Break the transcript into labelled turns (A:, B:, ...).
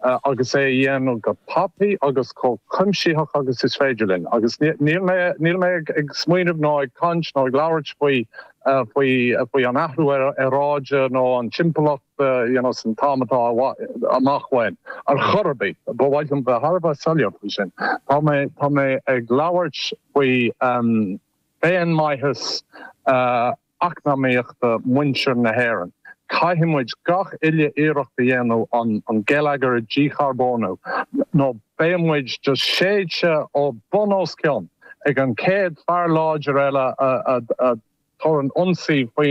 A: Agus é a dhéanamh go tapaidh agus chomh cuimsitheach agus is féidir linn. Agus níl mé, níl mé ag smaoineamh ná ag caint ná ag labhairt faoi, faoi, faoi an athrú aeráide nó an timpeallacht you know san t-am atá amach uainn ar chor ar bith. Ba mhaith liom bheith thar a bheith soiléir faoi sin. Tá mé, tá mé ag labhairt faoi féinmhaitheas eacnamaíochta muintir na hÉireann. Caithfidh muid gach uile iarracht a dhéanamh an geilleagar a dhícharbónú nó beidh muid just séidte ó bun os cionn ag an chéad fear láidir eile a chuireann ionsaí faoin.